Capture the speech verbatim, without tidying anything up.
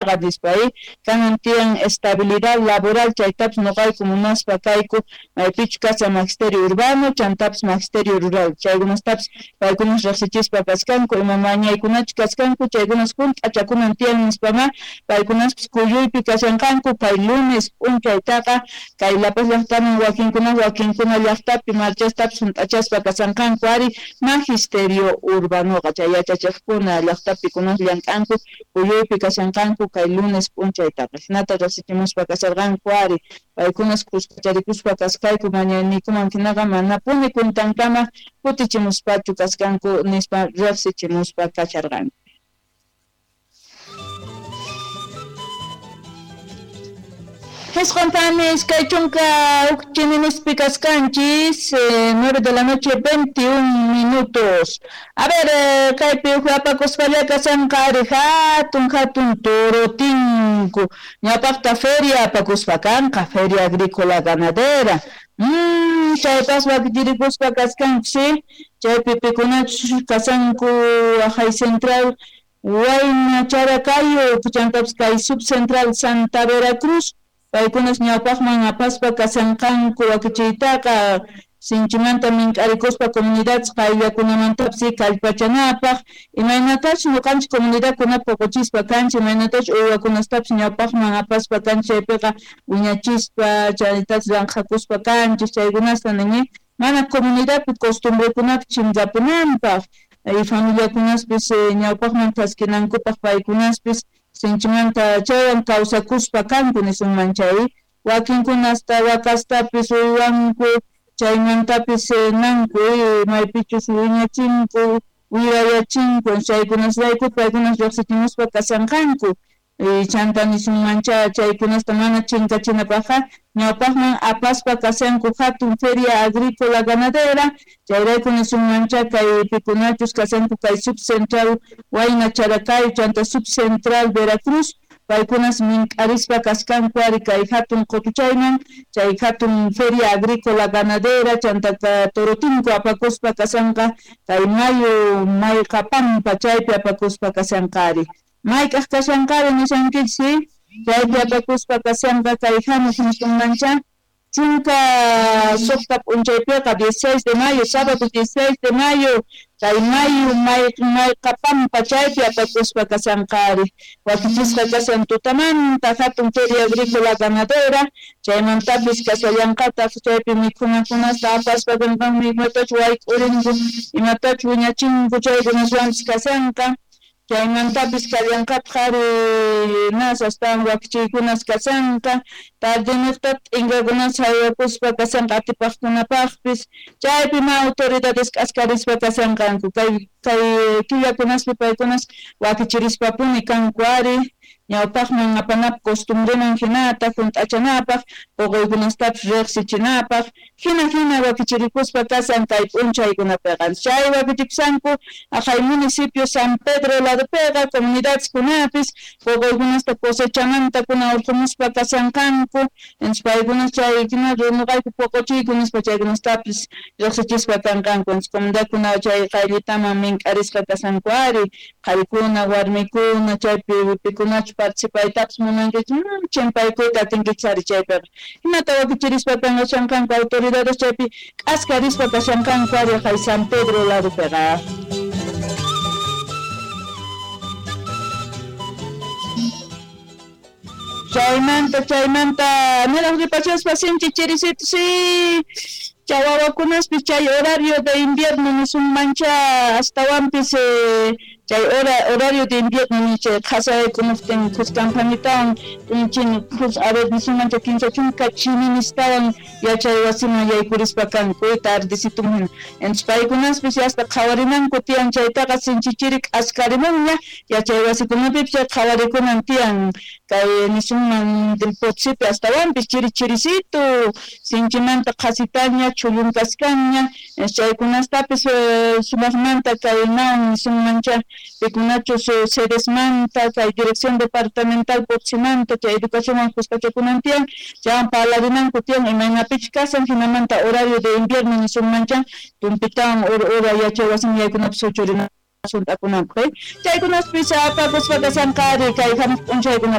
chaytaqa nispa kanan tiyan estabilidad laboral chaytapis nuqayku munaspa kayku maypichu kashan magisterio urbano chantapis magisterio rural chaykunastapis paykunas riqsichispa kaskanku ima mañaykunachu kaskanku chaykunas hunt'achakunan tiyan nispama paykunaspis kuyuypi kashanqanku kay lunes p'unchaytaqa kay La Paz llaqtaman wakinkuna wakinkuna llaqtapi marchastapis hunt'achaspa kashanqanku ari magisterio urbanoqa chay yachachiqkuna llaqtapi kunas llank'anku kuyuypi kashanqanku kay lunes p'unchaytaqa hinata riqsichimuspa kasharqanku ari paykunas kuskacharikuspa kaskayku mañayniykuman hinaqa manapuni kuntankama kutichimuspachu kaskanku nispa riqsichimuspa kasharqanku. Hisquntanis kay chunka huk chininispi kaskanchis, eh, nueve de la noche veintiún minutos. A ver, eh, kaypi huk apakuspalla kashanqa ari hatun hatun torotinku ñawpaqta feria apakuspa kanqa, feria agrícola ganadera. Mm, chaypas wakichirikuspa kaskanku, sí, chaypi pikunachus kashanku Ajay Central Huayna Characayo, chantapis kay Subcentral Santa Veracruz. Paykunas ñawpaqman apaspa kashanqanku wakichiytaqa sinchimanta mink'arikuspa comunidades qayllakunamantapis kallpachanapaq imaynatachus ñuqanchik comunidadkuna puquchispa kanchik imaynatachus uywakunastapis ñawpaqman apaspa kanchik chaypiqa wiñachispa chaytatas ranqhakuspa kanchik chaykunasta nini mana comunidadpi costumbrekunapi chinkapunanpaq y familiakunaspis ñawpaqman chaskinankupaq paykunaspis sinchimanta chaywan kawsakuspa kanku nisunman chay wakinkunasta wakastapis uywanku chaymantapis nanku maypichus wiñachinku wirayachinku chaykunasrayku paykunas riqsichimuspa kashanqanku chanta nisunmancha chaykunasta mana chinkachinapaqqa ñawpaqman apaspa kashanku hatun feria agrícola ganadera chayrayku nisunmancha kay pikunachus kashanku kay Subcentral Huayna Characayo chanta Subcentral Veracruz paykunas mink'arispa kaskanku ari kay hatun qutuchayman chay hatun feria agrícola ganadera chanta torotinku apakuspa kashanqa kay mayu Mayqapampa chaypi apakuspa kashanqa ari mayk'aq kashanqari nishankichik chaypi apakuspa kashanqa kay hamuq nisunmancha chunka suqta p'unchaypiqa dieciséis de mayo, sábado dieciséis de mayo kay mayu Mayqapampa chaypi apakuspa kashanqa ari wakichisqa kashan tutamanta hatun feria agrícola ganadera chaymantapis kashallanqataq chaypi mikhunakunasta apaspa kanqanmi imatachu wayk'urinku imatachu wiñachinku chaykunaswanpis kashanqa chaymantapis kallanqataq ari nas astawan wakichiykunas kashanqa tardeniqta t'inkakunas haywakuspa kashanqa atipaqkunapaqpis chaypi ma autoridades k'askarispa kashanqanku kay kay killakunaspi paykunas wakichirispapuni kanku ari ñawpaqman apanapaq costumbreman hinata hunt'achanapaq puquykunastapis riqsichinapaq hina hina wakichirikuspa kashan kay p'unchaykunapiqa chay wakichikushanku aqhay municipio San Pedro ladopiqa comunidadeskunapis puquykunasta cosechamanta kuna urqumuspa kashanqanku entonces paykunas chay hina nuqayku puquchiyku nispa chaykunastapis riqsichispa kanqanku entonces comunidadkuna chay qayllitaman mink'arisqa kashanku ari qharikuna warmikuna chaypi pikunachu participaytapis munankichik chimpaykuyta atinkichik ari chaypiqa hinata wakichirispa kanqashanqanku autoridades chaypi k'askarispa kashanqanku ari hay San Pedro ladopiqa. Chaymanta chaymanta niraq ripachaspa sinchi chirisitu sí chawawakunaspis chay horario de invierno nisunmancha astawanpis eh, chay hora horario de invierno ni chay qhasaykunuptin khuskanpanitawan chin khus a ver nisunmancha kinsa chunka chininistawan yachay wasiman yaykurispa kanku tardecito hina entonces paykunaspis hasta qhawarinanku tiyan chaytaqa sinchi chiri k'askarimunña yachay wasikunapipis chay qhawarikunan tiyan kay nisunman del Potosipi astawanpis chiri chirisito sinchimanta qhasitaña chullunkaskanña chaykunastapis sumaqmanta kay nawan nisunmancha pikunachus sedesmanta kay dirección departamental Potosimanta chay educacionwan kuskachakunan tiyan chaywan parlarinanku tiyan imaynapichus kashan hinamanta horario de invierno nisunmancha tumpitawan ura yachay wasiman yaykunapis huchurina hunt'akunanpaq chaykunaspis apakuspa kashanqa ari kay hamuq p'unchaykuna.